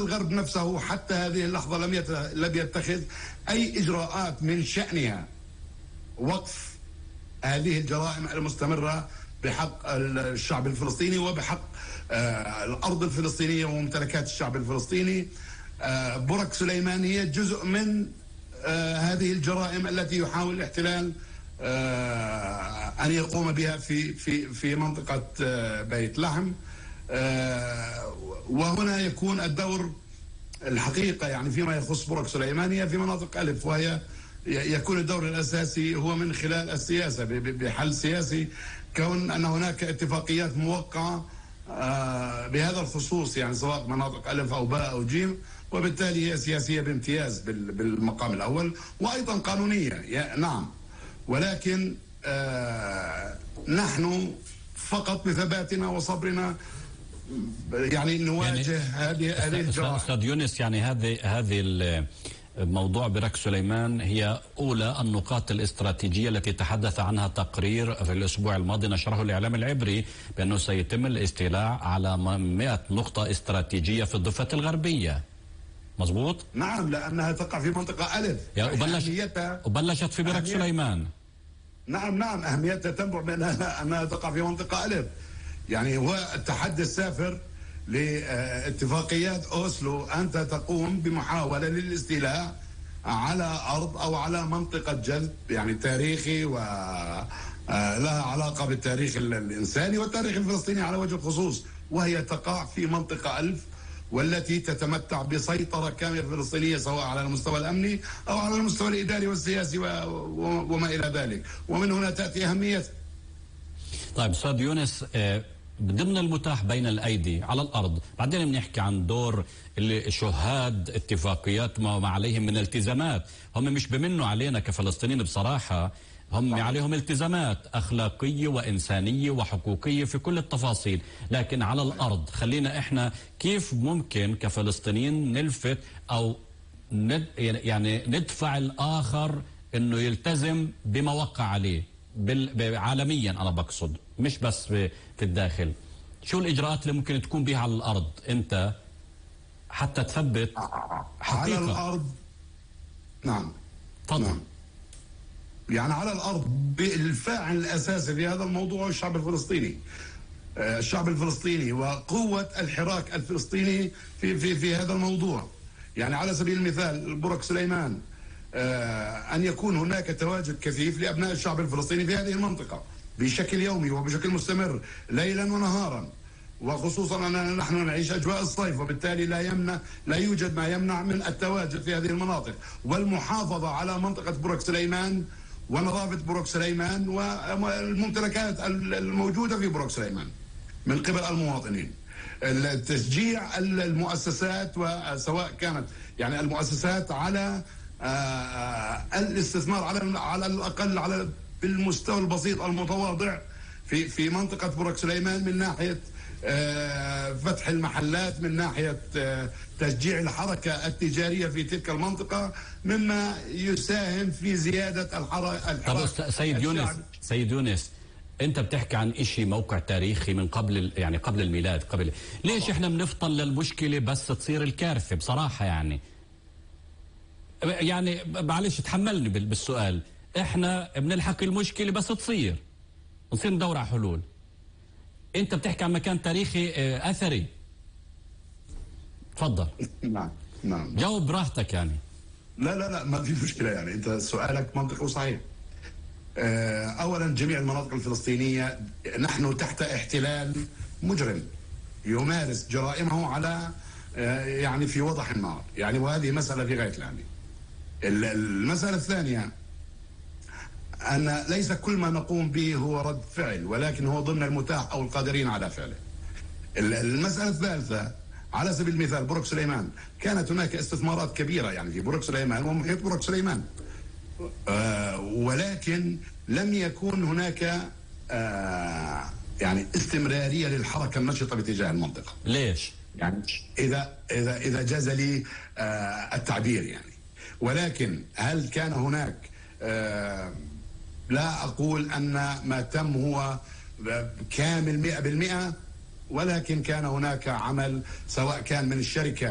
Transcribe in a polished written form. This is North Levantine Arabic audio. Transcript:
والغرب نفسه حتى هذه اللحظة لم يتخذ أي إجراءات من شأنها وقف هذه الجرائم المستمرة بحق الشعب الفلسطيني وبحق الأرض الفلسطينية وممتلكات الشعب الفلسطيني. برك سليمان هي جزء من هذه الجرائم التي يحاول الاحتلال أن يقوم بها في منطقة بيت لحم. وهنا يكون الدور الحقيقة يعني فيما يخص برك سليمان هي في مناطق ألف، وهي يكون الدور الأساسي هو من خلال السياسة بحل سياسي، كون أن هناك اتفاقيات موقعة بهذا الخصوص، يعني سواء مناطق ألف أو باء أو جيم، وبالتالي هي سياسية بامتياز بالمقام الأول وأيضا قانونية نعم. ولكن نحن فقط بثباتنا وصبرنا يعني نواجه هذه الجرائم. أستاذ يونس، يعني هذه موضوع برك سليمان هي أولى النقاط الاستراتيجية التي تحدث عنها تقرير في الأسبوع الماضي نشره الإعلام العبري بأنه سيتم الاستيلاء على 100 نقطة استراتيجية في الضفة الغربية. مظبوط؟ نعم، لأنها تقع في منطقة ألف وبلشت في برك سليمان. نعم أهميتها تنبع من أنها تقع في منطقة ألف. يعني هو التحدي السافر لاتفاقيات أوسلو أنت تقوم بمحاولة للاستيلاء على أرض أو على منطقة جذب يعني تاريخي ولها علاقة بالتاريخ الإنساني والتاريخ الفلسطيني على وجه الخصوص، وهي تقع في منطقة ألف والتي تتمتع بسيطرة كاملة فلسطينية سواء على المستوى الأمني أو على المستوى الإداري والسياسي وما إلى ذلك، ومن هنا تأتي أهمية. طيب أستاذ يونس، ضمن المتاح بين الأيدي على الأرض، بعدين بنحكي عن دور اللي شهاد اتفاقيات ما عليهم من التزامات، هم مش بمنوا علينا كفلسطينيين بصراحة، هم عليهم التزامات أخلاقية وإنسانية وحقوقية في كل التفاصيل، لكن على الأرض خلينا إحنا كيف ممكن كفلسطينيين نلفت أو يعني ندفع الآخر إنه يلتزم بما وقع عليه عالميا، أنا بقصد مش بس في الداخل. شو الإجراءات اللي ممكن تكون بها على الأرض أنت حتى تثبت حقيقة على الأرض؟ نعم تفضل. نعم. يعني على الأرض الفاعل الأساسي في هذا الموضوع هو الشعب الفلسطيني. الشعب الفلسطيني وقوة الحراك الفلسطيني في هذا الموضوع. يعني على سبيل المثال برك سليمان، أن يكون هناك تواجد كثيف لأبناء الشعب الفلسطيني في هذه المنطقة بشكل يومي وبشكل مستمر ليلا ونهارا، وخصوصا أننا نحن نعيش أجواء الصيف، وبالتالي لا يوجد ما يمنع من التواجد في هذه المناطق والمحافظة على منطقة برك سليمان ونظافة برك سليمان والممتلكات الموجودة في برك سليمان من قبل المواطنين. التشجيع المؤسسات، وسواء كانت يعني المؤسسات على الاستثمار على الأقل بالمستوى البسيط المتواضع في منطقة برك سليمان، من ناحية فتح المحلات، من ناحية تشجيع الحركة التجارية في تلك المنطقة، مما يساهم في زيادة الحركة. طب سيد يونس انت بتحكي عن اشي موقع تاريخي من قبل الميلاد. ليش احنا بنفضل للمشكلة بس تصير الكارثة بصراحة؟ يعني معلش تحملني بالسؤال، احنا بنلحق المشكلة بس نصير ندور على حلول. انت بتحكي عن مكان تاريخي اثري، تفضل. نعم جاوب براحتك. يعني لا ما في مشكلة. يعني انت سؤالك منطقي وصحيح. اولا جميع المناطق الفلسطينية نحن تحت احتلال مجرم يمارس جرائمه على يعني في وضح النار، يعني وهذه مسألة في غاية الأهمية. المسألة الثانية أن ليس كل ما نقوم به هو رد فعل، ولكن هو ضمن المتاح أو القادرين على فعله. المسألة الثالثة على سبيل المثال برك سليمان، كانت هناك استثمارات كبيرة يعني في برك سليمان ومحيط برك سليمان، ولكن لم يكن هناك يعني استمرارية للحركة النشطة باتجاه المنطقة. ليش؟ يعني إذا جاز لي التعبير يعني. ولكن هل كان هناك لا أقول أن ما تم هو كامل 100%، ولكن كان هناك عمل سواء كان من الشركة